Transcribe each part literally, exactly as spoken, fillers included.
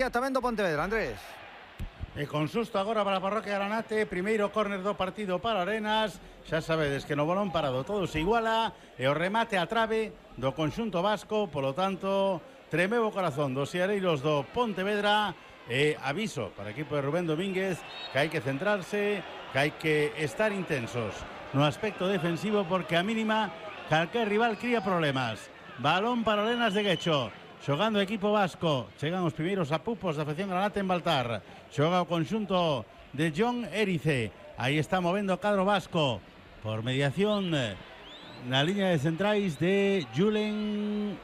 tamén do Pontevedra, Andrés. E con susto agora para a parroquia Granate. Primeiro córner do partido para Arenas. Xa sabedes que no balón parado todo se iguala. E o remate a trave do conxunto vasco. Polo tanto, tremeu o corazón dos seareiros do Pontevedra. E aviso para o equipo de Rubén Domínguez que hai que centrarse, que hai que estar intensos no aspecto defensivo, porque a mínima calquer rival cría problemas. Balón para Arenas de Guecho. Xogando o equipo vasco, chegan os primeiros apupos da afección Granate en Baltar. Xoga o conxunto de John Erice. Aí está movendo o cadro vasco por mediación na liña de centrais de Julen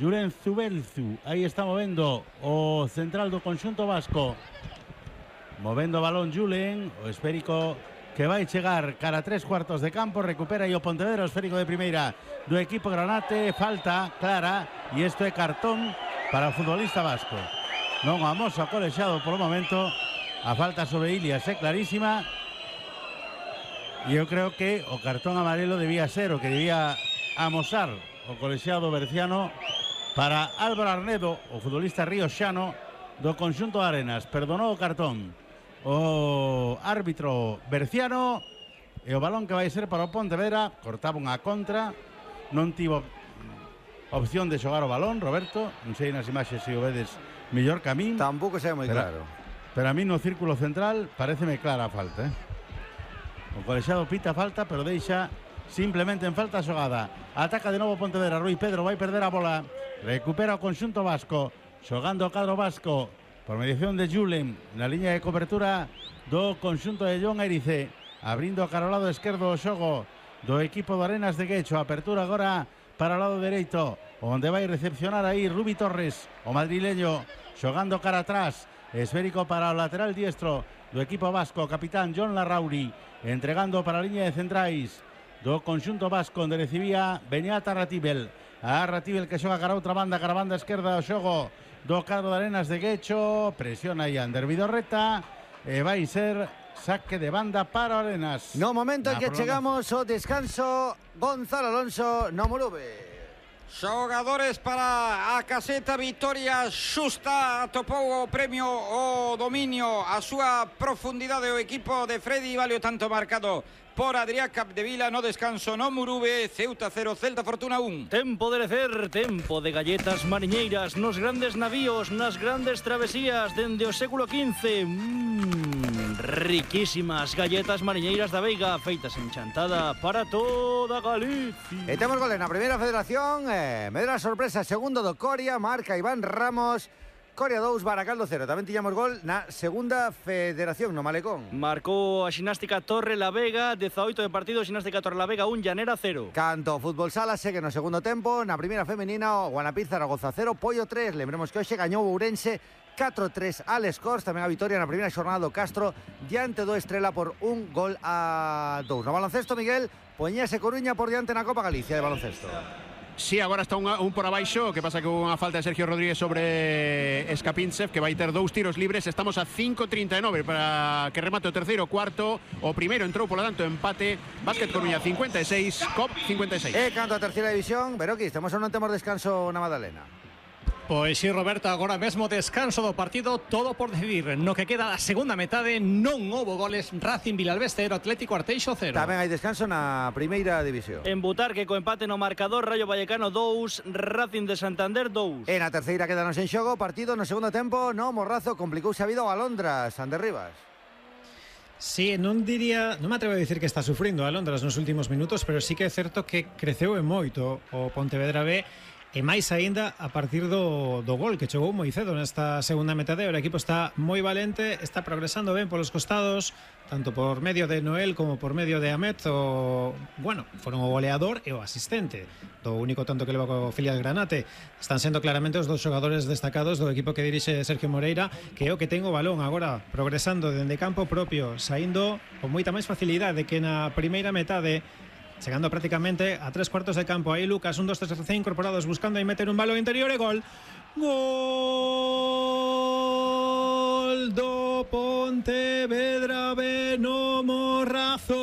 Julen Zubelzu. Aí está movendo o central do conxunto vasco, movendo o balón Julen, o esférico que vai chegar cara a tres cuartos de campo. Recupera aí o Pontevedra, o esférico de primeira do equipo Granate. Falta clara e isto é cartón para o futbolista vasco. Non amosa o colexado polo momento. A falta sobre Ilias é clarísima e eu creo que o cartón amarelo debía ser o que debía amosar o colexado berciano para Álvaro Arnedo, o futbolista rioxano do conxunto de Arenas. Perdonou o cartón o árbitro berciano e o balón que vai ser para o Pontevedra. Cortaba unha contra, non tivo opción de xogar o balón, Roberto. Non sei nas imaxes se o vedes mellor que a min. Tampouco sei moi claro. Pero a mí no círculo central pareceme clara a falta, eh? O colexado pita falta, pero deixa simplemente en falta a xogada. Ataca de novo Pontevedra. Rui Pedro vai perder a bola. Recupera o conxunto vasco, xogando o cadro vasco por mediación de Julen na liña de cobertura do conxunto de John Erice. Abrindo cara ao lado esquerdo o xogo do equipo de Arenas de Guecho. Apertura agora para o lado dereito, onde vai recepcionar aí Rubi Torres, o madrileño, xogando cara atrás. Esférico para o lateral diestro do equipo vasco, capitán John Larrauri, entregando para a liña de centrais do conxunto vasco, onde recibía Beñat Arratibel. A Arratibel que xoga cara a outra banda, cara a banda esquerda o xogo do cadro de Arenas de Guecho. Presiona aí Ander Vidorreta e vai ser saque de banda para Arenas. No momento en que chegamos ao descanso, Gonzalo Alonso no Morube. Xogadores para a caseta, vitoria xusta, atopou o premio o dominio, a súa profundidade o equipo de Freddy Valio, tanto marcado por Adrián Capdevila. No descanso no Murube, Ceuta cero, Celta Fortuna un. Tempo de lecer, tempo de galletas mariñeiras nos grandes navíos, nas grandes travesías dende o século quince. Mmm, riquísimas galletas mariñeiras da Veiga, feitas en Chantada para toda Galicia. E temos goles na primeira federación, eh, Medra sorpresa, segundo do Coria, marca Iván Ramos. Coria dous, Baracaldo cero. Tamén tiñamos gol na segunda federación, no Malecón. Marcou a Ximnástica Torre la Vega, dezaoito de partido, Ximnástica Torre la Vega un, Llanera cero. Canto Fútbol Sala segue no segundo tempo. Na primeira femenina, o Guanapir Zaragoza cero, Pollo tres. Lembremos que hoxe gañou Ourense catro tres al Scores. Tamén a vitoria na primeira xornada do Castro diante do Estrela por un gol a dous. No baloncesto, Miguel, poñese Coruña por diante na Copa Galicia de baloncesto. Sí, agora está un, un por abaixo. Que pasa que hubo unha falta de Sergio Rodríguez sobre Escapincev, que vai ter dous tiros libres. Estamos a cinco treinta e nove para que remate o terceiro cuarto. O primeiro entrou, polo tanto, empate. Básquet Coruña cincuenta e seis, C O P cincuenta e seis. E canto a terceira división, Beroquis, temos ou non temos descanso na Madalena? Pois sí, Roberto, agora mesmo descanso do partido, todo por decidir. No que queda a segunda metade non houbo goles. Racing Vilalbés cero, Atlético Arteixo cero. Tamén hai descanso na primeira división. En Butarque co empate no marcador, Rayo Vallecano dous, Racing de Santander dous. E na terceira quedanos en xogo, partido no segundo tempo, no Morrazo, complicouse a vida o Alondras, Ander Rivas. Sí, non diría, non me atrevo a dicir que está sufrindo a Alondras nos últimos minutos, pero sí que é certo que creceu en moito o Pontevedra B. E máis aínda a partir do, do gol que chegou moi cedo nesta segunda metade. O equipo está moi valente, está progresando ben polos costados, tanto por medio de Noel como por medio de Ahmed. O, bueno, foron o goleador e o asistente do único tanto que leva co filial Granate. Están sendo claramente os dos xogadores destacados do equipo que dirixe Sergio Moreira, que é o que ten o balón agora, progresando dende campo propio, saindo con moita máis facilidade que na primeira metade, chegando prácticamente a tres cuartos de campo. Aí Lucas, un, dos, tres, recién incorporados, buscando aí meter un balón interior e gol. Gol do Pontevedra B no Morrazo.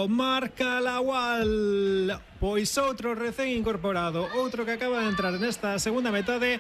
Marca Lawal. Pois outro recén incorporado, outro que acaba de entrar nesta segunda metade.